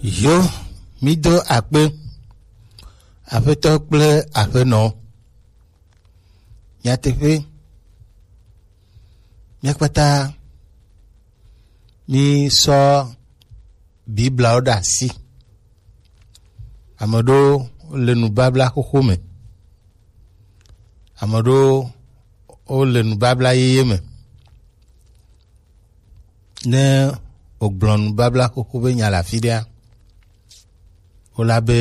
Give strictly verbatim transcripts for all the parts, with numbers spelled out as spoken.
Yo, mí do akpe, aƒetɔ kple aƒenɔ. Nyateƒe, mía kpata mí sɔ Biblawo ɖe asi. Ame ɖewo le nubabla xoxo me. Ame ɖewo wole nubabla yeye me. Ne wògblɔ nubabla xoxo be nya le afi ɖea, wola be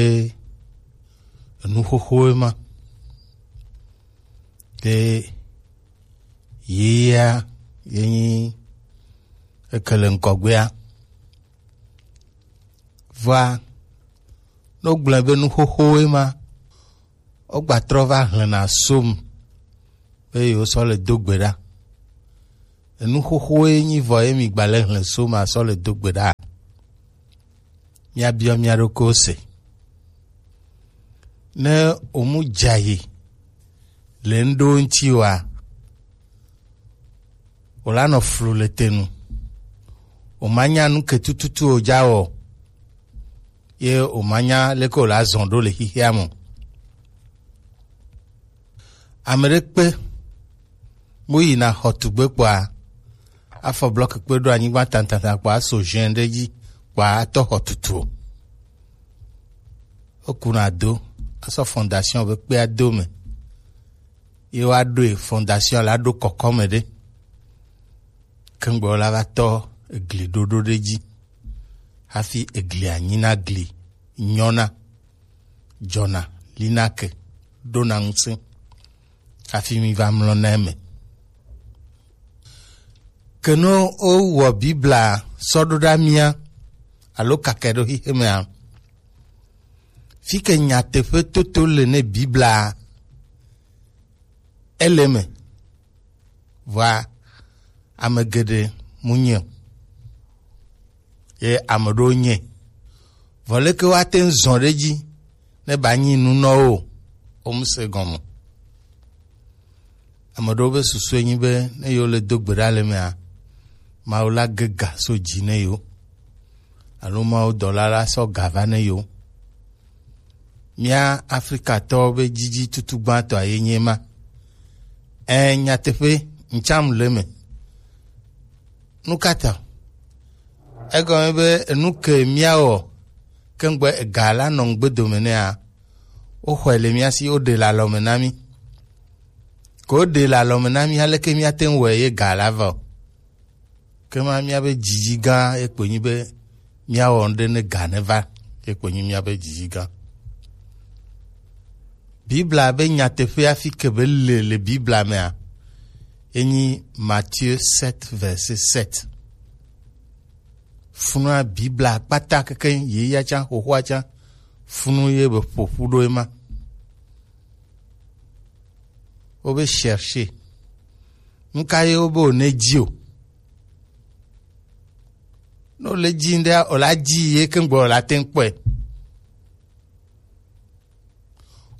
enu xoxoe ma. Ke yeyea ye nyi eke le ŋgɔgbea. Vɔa, ne wogblɔe be nu xoxowoe ma, wogbatrɔ va hlẽna som be yewosɔ le do gbe ɖa. Enu xoxowoe nyi vɔ ye migba le hlẽ som asɔ le do gbe ɖa. Míabiɔ mía ɖokuiwo se. Ne wòmu dza yi le ŋɖewo ŋuti oa, wòlanɔ flu le te nu. Wòmanya nu ke tututu wòdza wɔ o, ye wòmanya leke wòla zɔ ɖo le xexea me o. Ame ɖe kpe, mu yina xɔtugbe kpɔa, afɔ blɔki kpe ɖo anyigba tantanta kpɔa, aso ʒɛn ɖe dzi kpɔa, atɔ xɔ tutu o. Wokuna do, asɔ fondation be kpea do me. Ye woaɖoe, fondation la ɖo kɔkɔme ɖe. Kengbe wola va tɔ egli ɖoɖo ɖe dzi. Hafi eglia nyina gli nyɔna, dzɔna, lina ke, ɖona ŋusẽ. Hafi mi va mlɔna eme. Ke ne wowɔ Bibla sɔ ɖo ɖa mía alo kake ɖo xexemea, fi ke nyateƒe toto le ne Bibla, ele eme. Vɔa, ame geɖe mu nye o. Ye ame ɖewo nye. Vɔ leke woate ŋu zɔ ɖe edzi ne ba nyi nu nɔ wo o? Wo mu se gɔme. Ame ɖewo be susue nyi be ne yewo le do gbe ɖa le mea, Mawu la ge ga so dzi ne yewo. Alo Mawu dɔla la sɔ ga va ne yewo. Mía Afrikatɔwo be dzidzi tutu gbãtɔa ye nye ma. Ɛ, nyateƒe, ŋtsam le eme. Nu ka ta? Egɔme be enu ke míawɔ kengbe ega la nɔ ŋgbe dome nɛa, woxɔe le mía si, woɖe le alɔme na mí. Ke woɖe le alɔme na mí, aleke míate ŋu wɔe ye ga la va o? Ke ma míabe dzidzi gã ye kpoe nyi be míawɔ nu ɖe ne ga neva, ye kpoe nyi míabe dzidzi gã. Bibla be nyateƒe hafi ke be le le Bibla mea, enyi Matthieu sept, verset sept. Funua Bibla kpata keke ye ya tsã, xoxoa tsã, funu ye be ƒoƒu ɖo ema. Wobe chercher. Nu ka ye wobe wòne dzi o? Ne wòle dzi ŋɖea, wòla dzi ye ke ŋgbe wòla te ŋu kpɔe.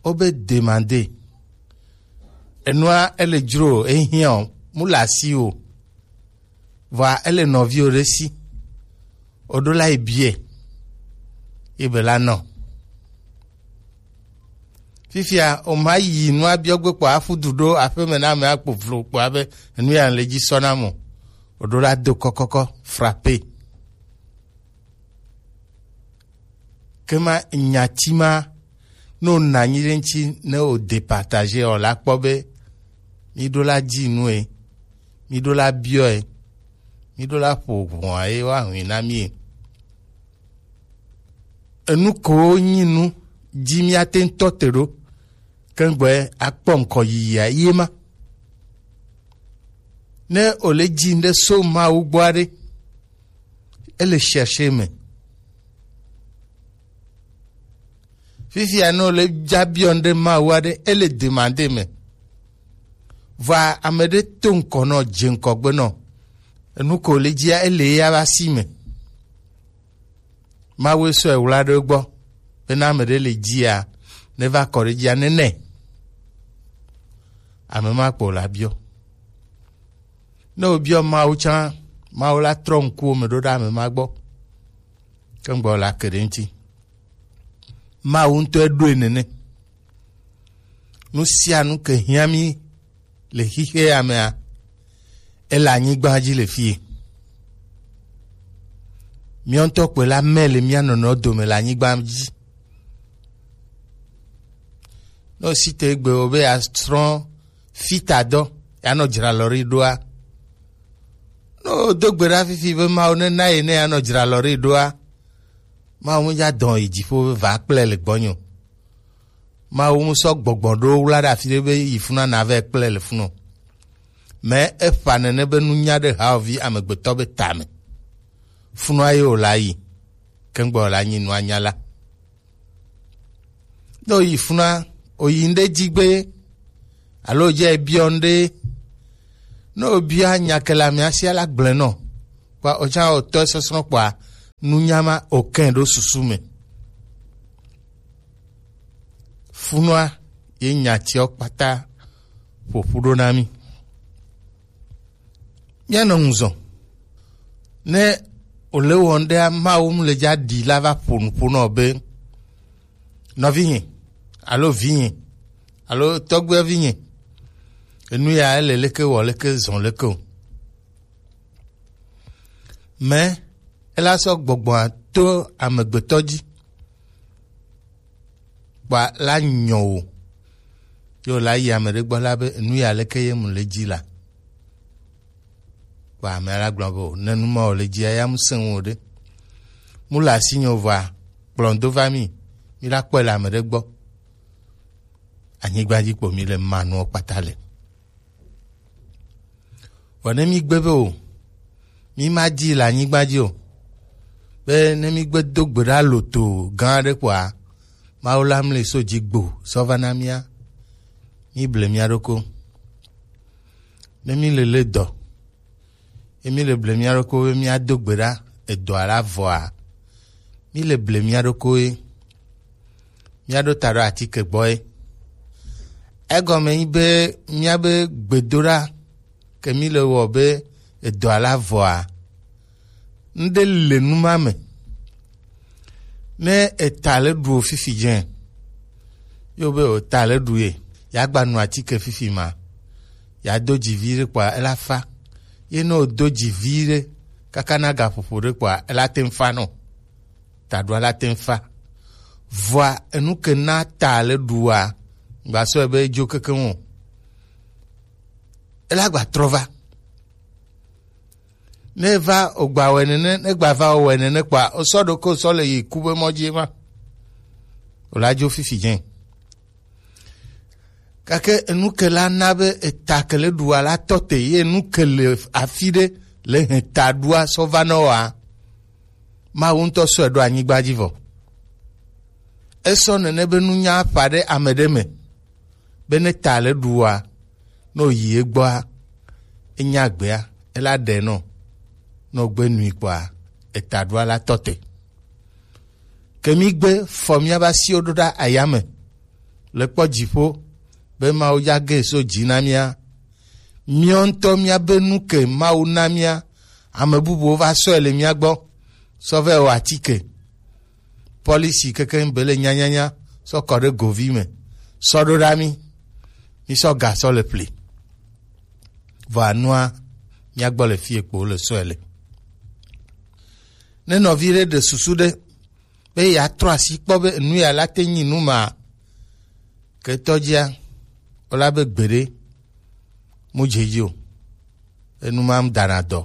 Wobe demander. Enua ele dzro o, ehiã o, mu le asi o. Vɔa ele nɔviwo ɖe si. Oɖo la yi biɛ. Ye be la nɔ. Fifia, o ma yi nua biɔ gbe kpɔ afu du ɖo aƒeme na ame akpo vlo kpɔ abe enu ya le dzi sɔ na mo. Oɖo la do kɔkɔkɔ, frappé. Ke ma nyati ma, ne wòna anyi ɖe ŋuti, ne wò départager o la kpɔ be, mi ɖo la dzi nue, mi ɖo la biɔe, mi ɖo la ƒo ʋɔa ye woahui na mi. Enu kowo nyi nu dzi míate ŋu tɔ te ɖo, kengbe akpɔ ŋkɔ yiyia ye ma. Ne wòle dzi ŋɖe so Mawu gbɔ aɖe, ele chercher me. Fifia ne wòle dza biɔ ŋɖe Mawu aɖe, ele demander me. Vɔa ame ɖe to ŋkɔ nɔ, dze ŋkɔgbe nɔ. Enu ko le dzia, ele ya va si me. Mawu sɔe wla ɖe gbɔ. Bena ame ɖe le dzia, ne va kɔ ɖe dzia, ne nɛ. Ame ma kpo la biɔ. Ne wòbiɔ Mawu tsã, Mawu la trɔ ŋkuwo me ɖo ɖe ame ma gbɔ. Kpɛŋgbɔ la ke ɖe ŋuti. Mawu ŋutɔ eɖoe nene. Nu sia nu ke hiã mí le xixea mea, ele anyigba dzi le fie. Míawo ŋutɔ kpɔe la, mɛ le mía nɔnɔewo dome le anyigba dzi. Ne wosi te egbe wo be yeasrɔ̃ fitadɔ, yeanɔ dzralɔri ɖoa, ne wodo gbe ɖa fifi be Mawu nena ye ne yeanɔ dzralɔri ɖoa, Mawu medza dɔn yi dziƒo be va kple le gbɔnye o. Mawu mu sɔ gbɔgbɔ ɖo wla ɖe afi ɖe be yi funa na vɛ kple le funu. Mɛ efa nene be nunya ɖe haovi amegbetɔ be tame. Funua ye wòla yi, kɛŋgbɔ wòla nyi nua nya la. Ne wòyi funa, wòyi ŋɖe dzi gbe, alo dze biɔ ŋɖe, ne wòbia nya ke le amea sia la gblẽ nɔ, kpa wòtsã wòtɔ sɔsrɔ̃ kpa nunya ma wòkɛ ɖo susu me. Funua ye nya tiawo kpata ƒoƒu ɖo na mí. Míanɔ ŋuzɔ. Ne wòle wɔm ɖea, Mawu mu le dza ɖi la va ƒo nu ƒo nɔ be, nɔvinye, alo vinye, alo tɔgbuivinye, enu ya ele leke wɔ leke zɔ leke o. Mɛ ela sɔ gbɔgbɔa to amegbetɔ dzi. Kpa la nyɔ o. Yo la yi ame ɖe gbɔ la be, enu ya leke ye mu le dzi la? Kpa ame la gblɔ be, o, ne nu ma o le dzia, ya mu se ŋu o ɖe. Mu le asi nyɔ vɔa, kplɔn do va mi, mi la kpɔe le ame ɖe gbɔ. Anyigba dzi kpo mi le ma nuɔ kpata le. Vɔ ne mi gbe be o, mi ma di le anyigba dzi o, be ne mi gbe do gbe ɖa loto gã aɖe kpɔa, Mawu la mli so dzi gbo sɔ va na mía, mi ble mía ɖoko. Ne mi le le dɔ, ye mi le ble mía ɖoko be mía do gbe ɖa edɔa la vɔa, mi le ble mía ɖoko ye. Míaɖo ta ɖo atike gbɔ ye. Egɔme nyi be míabe gbedoɖa ke mí le wɔ be edɔa la vɔa, ŋɖe le nu ma me. Ne eta le ɖu o fifi dze, yo be o ta le ɖu ye, ya gba nu atike fifi ma, ya do dzi vi ɖe kpɔa ela fa. Ye ne o do dzi vi ɖe kaka na gaƒoƒo ɖe kpɔa ela te ŋu fa nɔ. Taɖua la te ŋu fa. Vɔa enu ke na ta le ɖua, gba sɔe be edzo kekeŋ o. Ela gba trɔ va. Ne va o gba wɛ nene, ne gba va o wɛ nene kpɔa, o sɔ ɖo ke o sɔ le yi ku be mɔ dzi ma. O la dzo fifi dze. Gake enu ke la na be eta ke le ɖua la tɔ te, ye enu ke le afi ɖe le hɛn taɖua sɔ va nɔ wa. Mawu ŋutɔ sɔe ɖo anyigba dzi vɔ. Esɔ nene be nunya ƒã ɖe ame ɖe me, be ne ta le ɖua, ne o yi egbɔa, enya gbea, ela ɖe nɔ, ne o gbe nui kpɔa, eta ɖua la tɔ te. Ke mí gbe fɔ míabe asiwo ɖo ɖa ayame, le kpɔ dziƒo, be Mawu dza ge so dzi na mía. Míawo ŋutɔ míabe nu ke Mawu na mía, ame bubuwo va sɔe le mía gbɔ, sɔ vɛ wɔ atike. Pɔlisi kekeŋ be le nyanyanya, sɔ kɔ ɖe govi me, sɔ ɖo ɖa mí, mí sɔ ga sɔ le ƒli. Vɔ anua, mía gbɔ le fie kpo le sɔe le. Ne nɔvi ɖe ɖe susu ɖe, be yeatrɔ asi kpɔ be enu ya la te nyi nu ma, ketɔ dzia, o la be gbeɖe mu dze dzi o. Enu ma dana dɔ.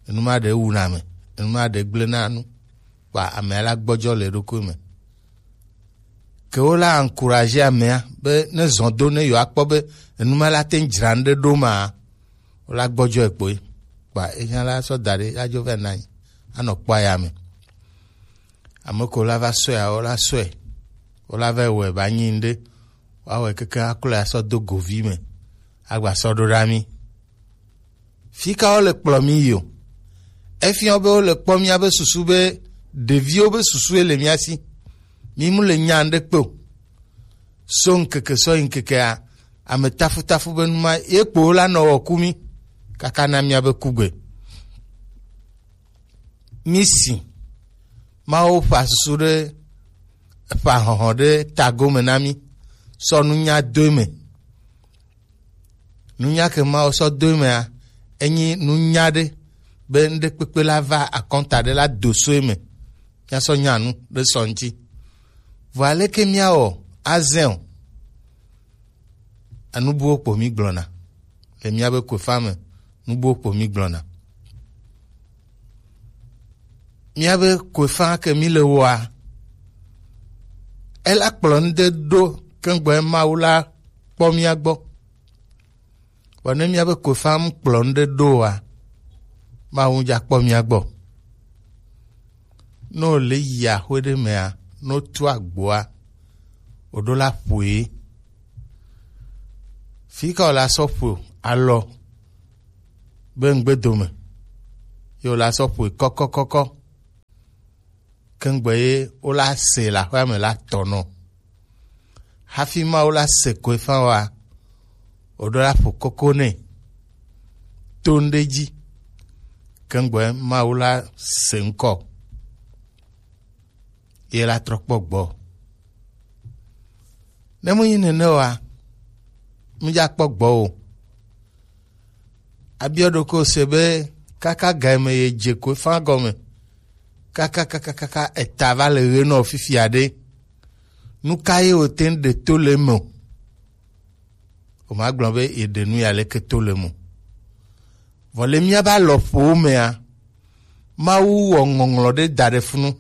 Enu ma ɖe wuna ame. Enu ma ɖe gblẽ na nu. Kpa amea la gbɔdzɔ le eɖokui me. Ke wo la encourager amea be ne zɔ do ne yewoakpɔ be enu ma la te ŋu dzra nu ɖe ɖo ma, wo la gbɔdzɔe kpoe. Kpa enya la sɔ da ɖe, adzo vɛ na anyi, anɔ kpɔ aya me. Ame ko la va sɔe, wo la sɔe, wo la va wɔe ba nyi ŋɖe, woawɔe keke aklɔe asɔ do govi me, agba sɔ ɖo ɖa mí. Fi ka wo le kplɔ mí yi o? Efiɔ be wo le kpɔ míabe susu be ɖeviwo be susue le mía si. Mí mu le nya ŋɖe kpe o. So ŋkeke sɔ yi ŋkekea, ame tafutafu be nu ma ye kpo la nɔ wɔ ku mí kaka na míabe kugbe. Mí si Mawu ƒa susu ɖe, ƒa hɔhɔ ɖe tago me na mí, sɔ nunya do eme. Nunya ke Mawu sɔ do emea, enyi nunya ɖe be ŋɖekpekpe la va akɔnta ɖe la do so eme. Míasɔ nya nu ɖe sɔ ŋuti. Vɔ aleke míawɔ azẽ o? Enu buwo kpo mí gblɔna le míabe koefa me. Nu buwo kpo mí gblɔna. Míabe koefa ke mí le wɔa, ela kplɔ nu ɖe ɖo keŋgbɔ Mawu la kpɔ mía gbɔ. Vɔ ne míabe koefa mu kplɔ nu ɖe ɖo oa, Mawu dza kpɔ mía gbɔ. Ne wòle yi axwe ɖe mea, ne wotu agboa, wòɖo la ƒoe. Fi ka wòla sɔ ƒo alɔ be ŋgbedome, ye wòla sɔ ƒoe kɔkɔkɔkɔ. Keŋgbe ye wola se le aƒea me la tɔ nɔ. Hafi Mawu la se koe fã wa, wòɖo la ƒo koko nɛ to ŋɖe dzi. Keŋgbe Mawu la se ŋkɔ, ye la trɔ kpɔ gbɔ. Ne menyi nene oa, mídza kpɔ gbɔ o. Abiɔ ɖokɔ se be kaka ga me ye dze koe fã gɔme, kaka kaka kaka eta va le ɣe nɔ fifia ɖe. Nu ka ye wòte ŋu ɖe to le eme o? Wòmagblɔ be yeɖe nu ya leke to le eme o. Vɔ le míabe alɔƒowo mea, Mawu wɔ ŋɔŋlɔ ɖe da ɖe funu.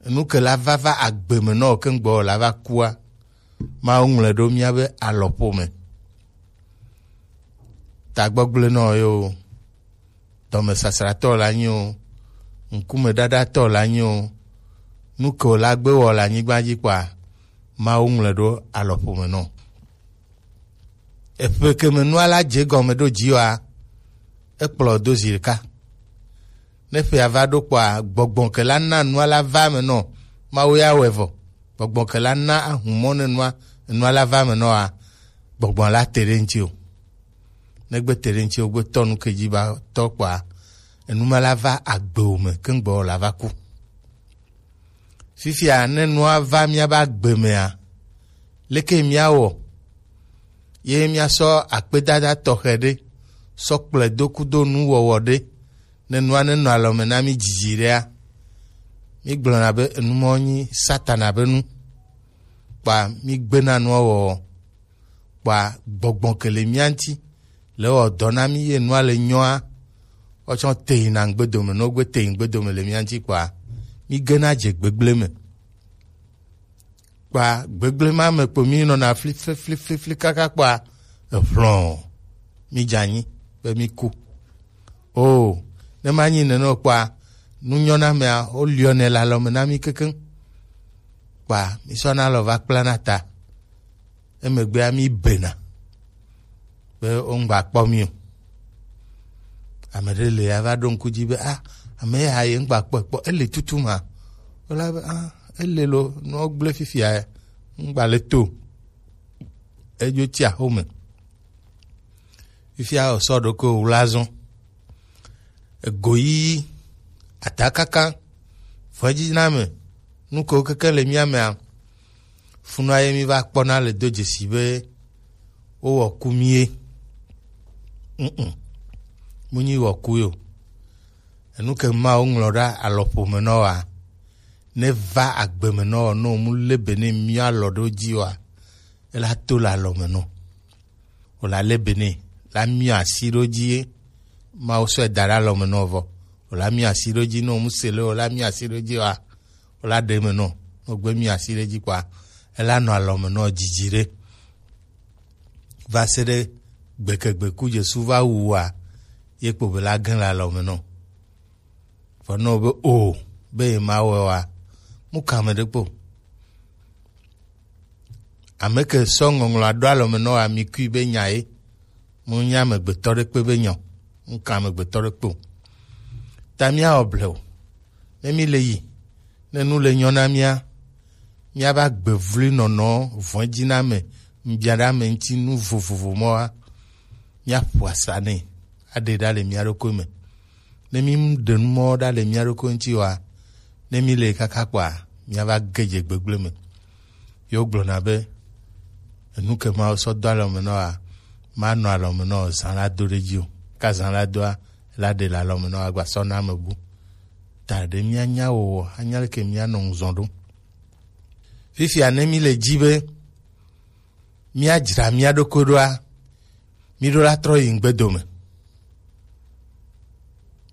Enu ke la va va agbe me nɔ keŋgbɔ la va kua, Mawu ŋlɔe ɖo míabe alɔƒo me. Tagbɔgblẽnɔ ye o, dɔmesasratɔ la nyi o, ŋkumeɖaɖatɔ la nyi o, nu ke wòla gbe wɔ le anyigba dzi kpɔa, Mawu ŋlɔe ɖo alɔƒo me nɔ. Eƒe ke me nua la dze gɔme ɖo dzi oa, ekplɔ do zi ɖeka. Ne ƒea va ɖo kpɔa, gbɔgbɔ ke la na nua la va me nɔ, Mawu ya wɔe vɔ. Gbɔgbɔ ke la na ahumɔ ne nua, nua la va me nɔa, gbɔgbɔ la te ɖe ŋuti o. Ne gbe te ɖe ŋuti o, gbe tɔ nu ke dzi ba tɔ kpɔa, enu ma la va agbe o me, keŋgbɔ la va ku. Fifia, ne nua va míabe agbe mea, leke míawɔ? Ye míasɔ akpedada tɔxɛ ɖe sɔ kplɔe do kudo nuwɔwɔ ɖe, ne nua nenɔ alɔme na mí dzidzi ɖea, mígblɔna be enu mɔ nyi Satana be nu, kpa mígbena nua wɔwɔ. Kpɔa, gbɔgbɔ ke le mía ŋuti le wɔ dɔ na mí ye nua le nyɔa, wotsɔ te yina ŋgbedome, ne wogbe te yi ŋgbedome le mía ŋuti kpɔa, mí gena dze gbegblẽ me. Kpɔa, gbegblẽ ma me kpo mí nɔna fli, fli, fli, fli, fli kaka kpɔa, eʋlɔ mí dze anyi be mí ku. O, ne ma nyi nene o kpɔa, nu nyɔ na mea, woliɔ nɛ le alɔme na mí kekeŋ. Kpɔa, mí sɔna alɔ va kpla na ta. Emegbea mí bena be wongba kpɔ mí o. Ame ɖe le ava ɖo ŋku dzi be, ah, ame ya ye ŋgba kpɔe kpɔ, ele tutu ma? Wola be, ah, ele lo, nɔ gblẽ fifia, ŋgba le to. Edzo tsi axome. Fifia wòsɔ ɖokui wò la zɔn. Egoyiyi, atakaka, vɔ̃dziname, nu kewo keke le mía mea, funua ye mí va kpɔna le do dzesi be wowɔ ku mí ye. Mm-mm. Mu nyi wɔ ku yo. Enu ke Mawu ŋlɔ ɖe alɔƒo me nɔ wa, ne va agbe me nɔ, ne mu le be ne mía alɔ ɖo dzi wa, ela to le alɔ me nɔ. Wòla lé be nɛ, la miɔ asi ɖo dzi ye, Mawu sɔe da ɖe alɔme nɔ vɔ. Wòla miɔ asi ɖo dzi, ne wòmu se le, wòla miɔ asi ɖo dzi wa, wòla ɖe me nɔ, ne wògbe miɔ asi ɖe dzi kpɔa, ela nɔ alɔme nɔ dzidzi ɖe. Va se ɖe gbekegbe ku Jesu va wu wa, ye kpo be la gẽ le alɔme nɔ. Vɔ nɔ be o, be ye ma wɔ wa, mu kame ɖe kpo. Ame ke sɔ ŋɔŋlɔ aɖo alɔme nɔ wa mi kui be nya ye. Mu nya amegbetɔ ɖe kpe be nya o. Mu ka amegbetɔ ɖe kpe o. Ta mía wɔ ble o. Ne mi le yi, ne nu le nyɔ na mía, mía ba gbe vlu nɔnɔ vɔ̃dzi na me, mbiaɖa me ŋuti nu vovovo mɔ wa, mía ƒo asa nɛ, aɖe ɖa le mía ɖokui me. Ne mi ɖe nu mɔ ɖa le mía ɖokui ŋuti wa, Ne mi le kaka kpɔa, miava ge dze gbegblẽ me. Ye wogblɔna be, enu ke Mawu sɔ do alɔme nɔ wa, manɔ alɔme nɔ zã la do ɖe dzi o. Ka zã la doa, la ɖe le alɔme nɔ wa gba sɔ na ame bu. Ta ɖe mianya wowɔ, anya leke mianɔ ŋzɔn ɖo. Fifia ne mi le dzi be míadzra mía ɖokui ɖoa, míɖo la trɔ yi ŋgbedome.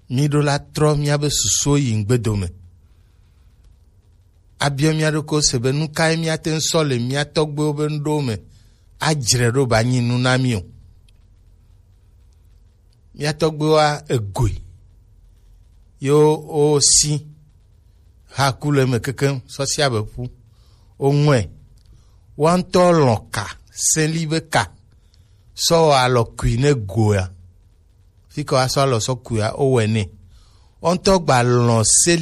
Míɖo la trɔ míabe susuwo yi ŋgbedome. Abiɔ mía ɖokuiwo se be nu kae míate ŋu sɔ le mía tɔgbuiwo be nuɖowo me adzre ɖo ba nyi nu na mí o. Mía tɔgbuiwoa egoe. Yo wosi haku le eme kekeŋ sɔ si abe ƒu. Woŋɔe. Woa ŋutɔ lɔ̃ ka, seli be ka, sɔ wɔ alɔ kui ne goa. Fi ke woasɔ alɔ sɔ kuia, wowɔe nɛ. Woa ŋutɔ gba lɔ̃ se